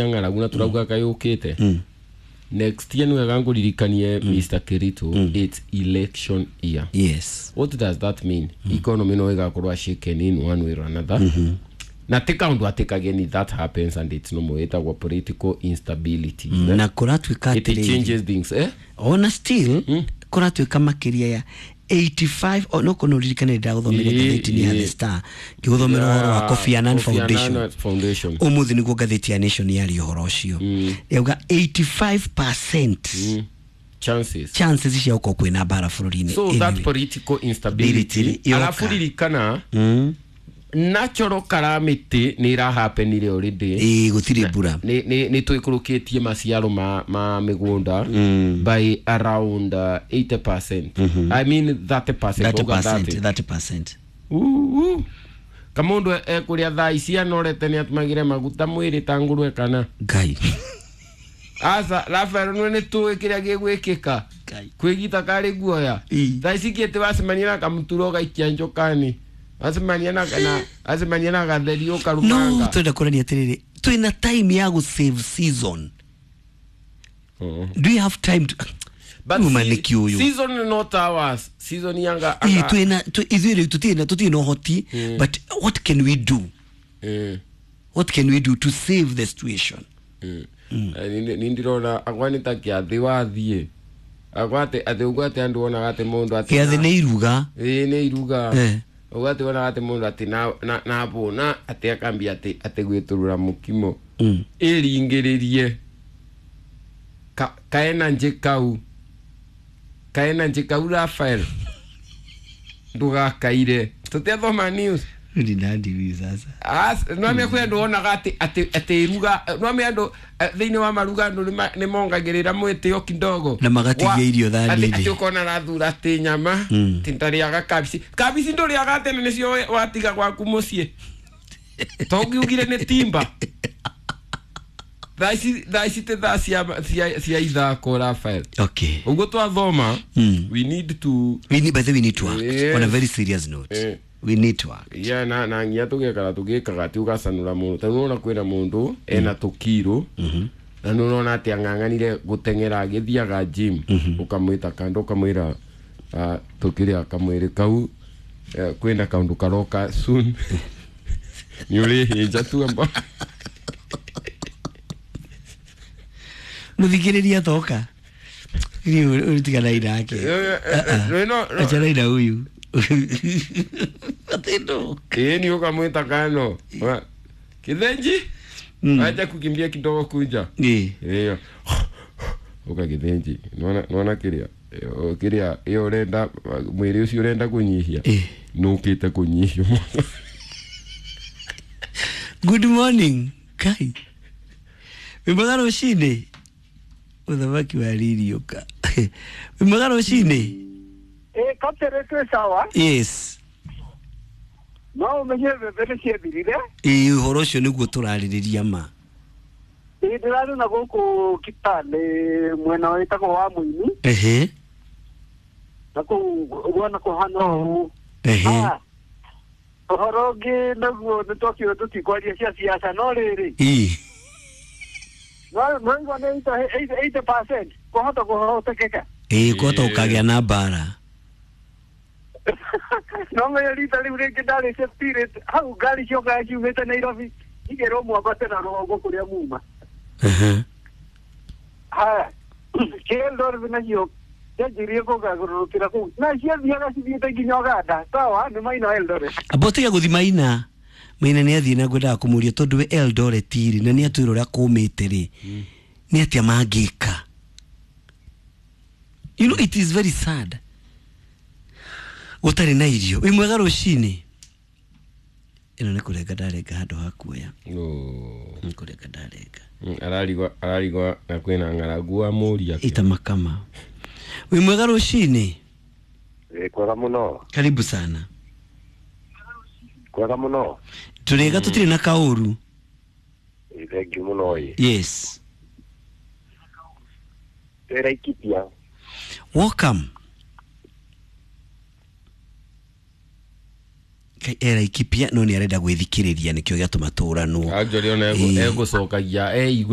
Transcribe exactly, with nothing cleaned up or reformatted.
Ng'aragu na turauga kayukite next year niwega nguririkanie Mister Kirito, it's election year. Yes. What does that mean? Economy no igakorwa shaken in one way or another, na ti kaundu ati kageni, that happens and it's normal, itagwo political instability. Mm, na kũratuĩka It atĩrĩrĩ, changes things, eh. Ona still kũratuĩka makĩria ya eighty-five o no kono ririkane ndagũthomera Ĩĩ, ngathĩti-inĩ ya ĩĩ. The Star ngĩgũthomera ũhoro wa Kofi Annan Kofi Foundation. Annan Foundation. Ũmũthĩ nĩguo ngathĩti ya Nation yaria ũhoro ũcio, yauga eighty-five percent chances chances cia gũkorwo kwĩna mbara bũrũri-inĩ. So that Anyway. political instability Ability, yoka. Alafu ririkana Mm. natural calamity nä irahapenire already. Ĩĩ, gũtirĩ mbura. Nä nä twä kå rå kä tie maciaro ma, ma mä gå nda by around uh, eighty percent, I mean thirty percent. thirty percent, thirty percent. Kamå ndå ekå rä a thaa ici anorete nä atũmagä re maguta mwä rä ta ngũrwe kana Ngai. Aca Rafael nä nä tå ä kä rä a gä gwä kä ka Ngai. kwä gita karä guoya. Ĩ. Thaa ici kä tä wacemania na kamuturo gaikia njokani, wacemania na na wacemania na gatheri No ũkarumanga. Twenda kũrania atĩrĩrĩ, twĩna time ya gũ save season. Oh. Do you have time to But Uma se- nĩ kĩũyũ. Season not ours, season yanga. Ĩ, twĩna twĩ- ithuĩ rĩu tũtirĩ na tũtirĩ na ũhoti, but what can we do? Eh. What can we do to save the situation? Ni ndirona akwa nĩ ta kĩathĩ wathiĩ akwa atĩ atĩ ũguo atĩ andũ wonaga atĩ mũndũ atĩ Kĩathĩ nĩ iruga. Ĩĩ, nĩ iruga. Eh. Ũguo atĩ wonaga atĩ mũndũ atĩ na- na- nabũna atĩ akambia atĩ atĩ gwĩtũrũra mũkimo Mm. ĩringĩrĩrie Ka- kaenanjĩ kau kaenanjĩ kau Rafael ndũgakaire tũtiathoma news. Ni nandi huyu sasa? As- nwame kwĩ andũ wonaga atĩ atĩ atĩ iruga, nwame andũ eh, thĩinĩ wa maruga andũ nĩma- nĩmongagĩrĩra mwĩtĩo kidogo. Na magatigia Wa- irio thani-inĩ. atĩ atĩ ũkona arathura atĩ nyama Mm. atĩ ndarĩaga kabici, kabici ndũrĩaga tene nĩcio we- watiga gwaku mũciĩ tongiugire nĩ timba. Thaa ici thaa ici tĩ thaa cia cia cia ithako, Rafael. Okay. Ũguo twathoma Mm. we need to We need, by the way, we need to act. Yes. On a very serious note, Eh. we need to act. Yeah, na na nginya tũgekara tũgĩkaga atĩ ũgacanũra mũndũ ta nĩwona kwĩna mũndũ ena tũkiro na nĩũrona atĩ ang'ang'anire gũteng'era agĩthiaga gym, ũkamwĩta kando ũkamwĩra, ah, tũkĩrĩa kamwĩrĩ kau, eh, kwĩna kaũndũ karoka soon nĩ ũrĩhĩnja tuamba. Muthikĩrĩria thoka ũtiganai nake. Achanai na huyu atendo. Ĩĩ, nĩ ũkamwĩta kando. Wa- kĩthenji Mm. acha kukimbia kidogo kuja. Ĩ. Ĩyo uka gĩthĩnji nona nona kĩrĩa ĩyo- kĩrĩa ĩyo ũrenda mwĩrĩ ũcio ũrenda kũnyihia Ĩ. nũkĩte kũnyihio mũno. Good morning. Kai wĩ mwega rũcinĩ, mũthamaki wa ririũka, wĩ mwega rũcinĩ. Ĩ, kaptere, twĩ sawa. Yes. No ũmenye mbembe nĩ ciethirire. Ĩ, ũhoro ũcio nĩguo tũrarĩrĩria ma. Ĩ, ndĩrarĩ na gũkũ Kitale mwena wĩtagwo wa Mũini. Ehe. Na kũu guona kũhana ũũ. Ehe. Ah, ũhoro ũngĩ naguo nĩ twakiuga tũtikwaria cia siasa, no rĩrĩ, Ĩ. no no igua nĩ eighty percent kũhota kũhotekeka. Ĩ, kũhota gũkagĩa na mbara. No menye rita rĩu rĩngĩ ndarĩ spirit hau ngari ciokaga ciumĩte Nairobi ikerwo mwambate na rũgongo kũrĩa muma. Ehe. Haya, Eldoret nacio cianjirie kũgarũrũkĩra kũu na ciathiaga cithiĩte nginya Uganda, sawa nĩ maina Eldoret. Amba ũtige gũthi maina maina nĩ athiĩ na ngwendaga kũmũria tondũ we Eldoret rĩ na nĩ atwĩra ũrĩa kũmĩte rĩ, nĩ atĩa mangĩka? You know it is very sad gũtarĩ na irio. Wĩ mwega rũcinĩ, ĩno nĩ kũrenga ndarenga handũ ha kuoya. Oh. Nĩ kũrenga ndarenga. Mm, ararigwa ararigwa na kwĩna ng'aragu wa mũria. Ita makama, wĩ mwega rũcinĩ. Ĩ, kwega mũno. Karibu sana. Kwega mũno. Tũrĩga tũtirĩ na kaũru. Ĩ, thengiũ mũno ĩ. Yes. Twĩ Laikipia. Welcome. Kai Laikipia no nĩ arenda gwĩthikĩrĩria nĩkĩo gĩatũma tũranwo. Actually ona Ĩĩ. egũcokagia eigue.